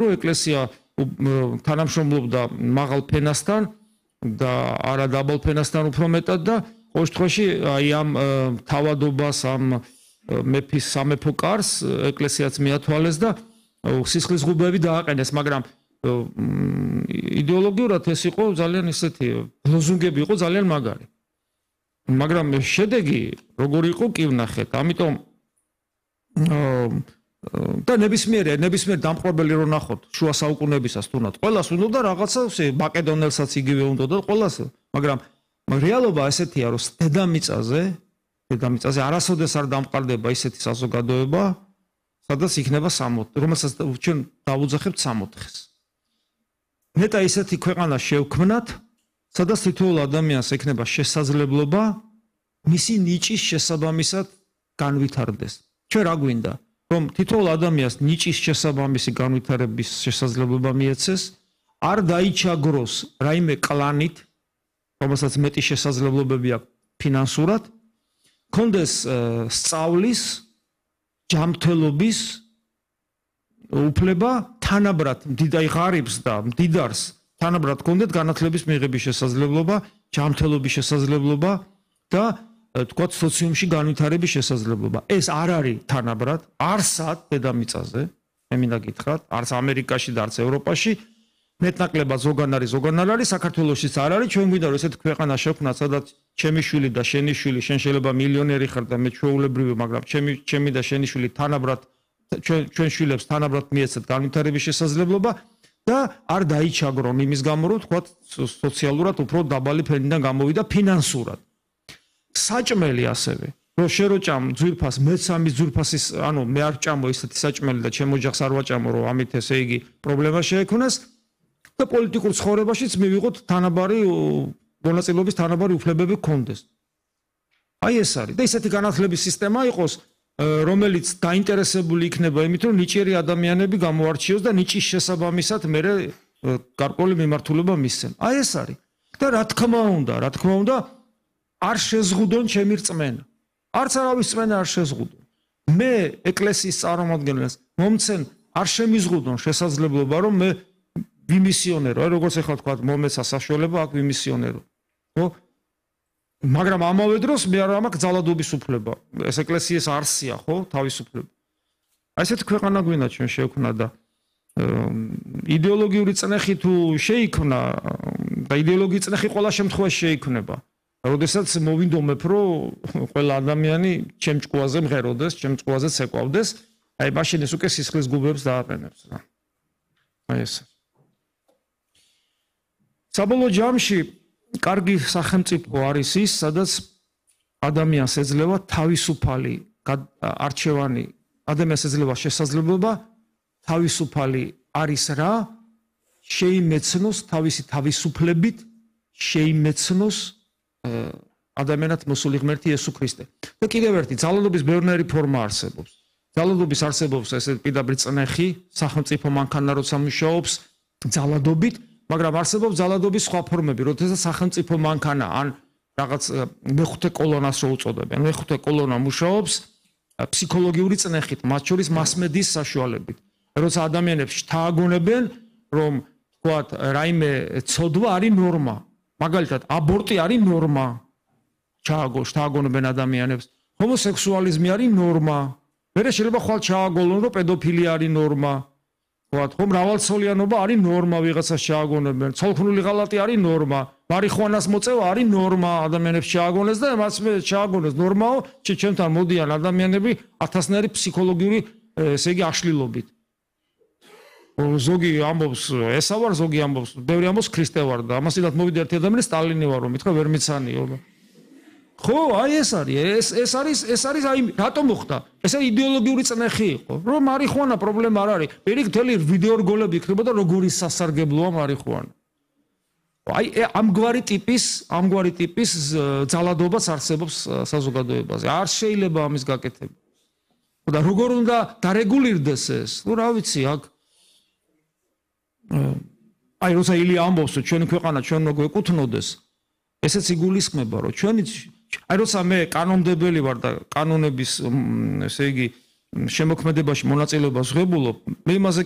რომ ეკლესია თანამშრომლობდა მაღალ ფენასთან და არა დაბალ ფენასთან უფრო მეტად და ყოველ შემთხვევაში აი ამ თავადობას ამ მეფის სამეფო კარს ეკლესიაც მიათვალეს და სისხლის ღუბეები დააყენეს, მაგრამ იდეოლოგიურად ეს იყო ძალიან ისეთი ლოზუნგები იყო ძალიან მაგარი. მაგრამ შედეგი როგორი იყო კი ვნახეთ. ამიტომ და ნებისმიერ დამპყრობელი რო ნახოთ შუა საუკუნეებისას თუნდაც ყველას უნდა რაღაცა მაკედონელსაც იგივე უნდა და ყველას, მაგრამ რეალობა ესეთია რომ დედამიწაზე არასოდეს არ დამყარდება ისეთი საზოგადოება, სადაც იქნება 60, რომელსაც ჩვენ დავუძახებთ 60-ს. ნეტა ისეთი ქვეყანა შევქმნათ, სადაც თითოეულ ადამიანს ექნება შესაძლებლობა მისი ნიჭის შესაბამისად განვითარდეს. ჩვენ რა გვინდა? რომ თითოეულ ადამიანს ნიჭის შესაბამისი განვითარების შესაძლებლობა მიეცეს, არ დაიჩაგროს რაიმე კლანით, რომელსაც მეტი შესაძლებლობები აქვს ფინანსურად, კონდეს სწავლის, ჯანმრთელობის უფლება თანაბრად მდიდარ ღარიბს და მდიდარს თანაბრად კონდეთ განათლების მიღების შესაძლებლობა, ჯანმრთელობის შესაძლებლობა და თქვათ სოციუმში განვითარების შესაძლებლობა. ეს არ არის თანაბრად, არსად დედამიწაზე, მე მინდა გითხრათ, არც ამერიკაში და არც ევროპაში, მეტნაკლებად ზოგან არის, საქართველოშიც არ არის, ჩვენ გვინდა რომ ესეთ ქვეყანა შევქმნათ, სადაც ჩემი შვილი და შენი შვილი, შენ შეიძლება მილიონერი ხარ და მე ჩვეულებრივი, მაგრამ ჩემი და შენი შვილი თანაბრად ჩვენ შვილებს თანაბრად მიეცეთ განვითარების შესაძლებლობა და არ დაიჩაგრონ იმის გამო, რომ თქვათ სოციალურად უფრო დაბალი ფენიდან გამოვიდა ფინანსურად. საჭმელი ასევე, რომ შეროჭამ ძვირფას, მეც ამის ძვირფასის, ანუ მე არ ჭამო ისეთი საჭმელი და ჩემ ოჯახს არ ვაჭამო, რომ ამით ესე იგი პრობლემა შეექმნას და პოლიტიკურ ცხოვრებაშიც მივიღოთ თანაბარი მონაწილეობის თანაბარი უფლებები გქონდეს. აი ეს არის და ისეთი განათლების სისტემა იყოს, რომელიც დაინტერესებული იქნება იმით, რომ ნიჭიერი ადამიანები გამოარჩიოს და ნიჭის შესაბამისად მერე გარკვეული მიმართულება მისცენ. აი ეს არის. და რა თქმა უნდა, არ შეზღუდონ ჩემი რწმენა. არც არავის რწმენა არ შეზღუდონ. მე ეკლესიის წარმომადგენლებს მომცენ არ შემიზღუდონ შესაძლებლობა, რომ მე ვიმისიონერო, როგორც ახლა თქვა, მომეცა საშუალება აქ ვიმისიონერო. ხო? მაგრამ ამავე დროს მე არ მაქვს ძალადობის უფლება. ეს ეკლესიის არსია, ხო, თავისუფლება. აი ესეთი ქვეყანა გვინდა ჩვენ შევქმნა და იდეოლოგიური წნეხი თუ შეიქმნა და იდეოლოგიური წნეხი ყველა შემთხვევაში შეიქმნება. როდესაც მოვინდომებ, რომ ყველა ადამიანი ჩემ ჭკუაზე მღეროდეს, ჩემ ჭკუაზე ცეკვავდეს, აი მაშინ ეს უკვე სისხლის გუბებს დააყენებს რა. აი ეს. საბოლოო ჯამში კარგი სახელმწიფო არის ის, სადაც ადამიანს ეძლევა თავისუფალი არჩევანი, ადამიანს ეძლევა შესაძლებლობა თავისუფალი არის რა, შეიმეცნოს თავისი თავისუფლებით, შეიმეცნოს ადამიანად მოსული ღმერთი იესო ქრისტე. და კიდევ ერთი ძალადობის ბევრნაირი ფორმა არსებობს. ძალადობის არსებობს ესე პირდაპირ წნეხი, სახელმწიფო მანქანა როცა მუშაობს ძალადობით, მაგრამ არსებობს ძალადობის სხვა ფორმები, როდესაც სახელმწიფო მანქანა ან რაღაც მეხუთე კოლონას რო უწოდებენ. მეხუთე კოლონა მუშაობს ფსიქოლოგიური წნეხით, მათ შორის მასმედიის საშუალებით. როცა ადამიანებს შთააგონებენ, რომ თქვათ რაიმე ცოდვა არის ნორმა. მაგალითად, აბორტი არის ნორმა. შთააგონებენ ადამიანებს. ჰომოსექსუალიზმი არის ნორმა. მერე შეიძლება ხვალ ჩააგოლონ, რომ პედოფილია არის ნორმა. ვთქვათ, ხო, მრავალცოლიანობა არის ნორმა, ვიღაცას ჩააგონებენ. ცოლქმრული ღალატი არის ნორმა. მარიხუანას მოწევა არის ნორმა, ადამიანებს ჩააგონეს და მას ჩააგონეს ნორმაო, ჩემთან მოდიან ადამიანები ათასნაირი ფსიქოლოგიური, ესე იგი, აშლილობით. ზოგი ამბობს ესა ვარ, ზოგი ამბობს, ბევრი ამბობს ქრისტე ვარ და ამასინათ მოვიდა ერთი ადამიანი სტალინი ვარ, რომ მითხრა ვერ მიცანიო. ხო, აი ეს არის აი რატომ მოხდა? ეს იდეოლოგიური წნეხი იყო, რომ მარიხუანა პრობლემა არ არის. პირიქით მთელი ვიდეო რგოლები იქნებოდა როგორი სასარგებლოა მარიხუანა. აი ამგვარი ტიპის ძალადობაც არსებობს საზოგადოებაზე. არ შეიძლება ამის გაკეთება. და როგორ უნდა დარეგულირდეს ეს? ნუ რა ვიცი, აქ აი როცა ილია ამბობს, რომ ჩვენი ქვეყანა ჩვენ რო გვეკუთვნოდეს, ესეც იგულისხმება, რომ ჩვენი აი როცა მე კანონმდებელი ვარ და კანონების, ესე იგი, შემოქმედებაში მონაწილეობას ვღებულობ, მე იმაზე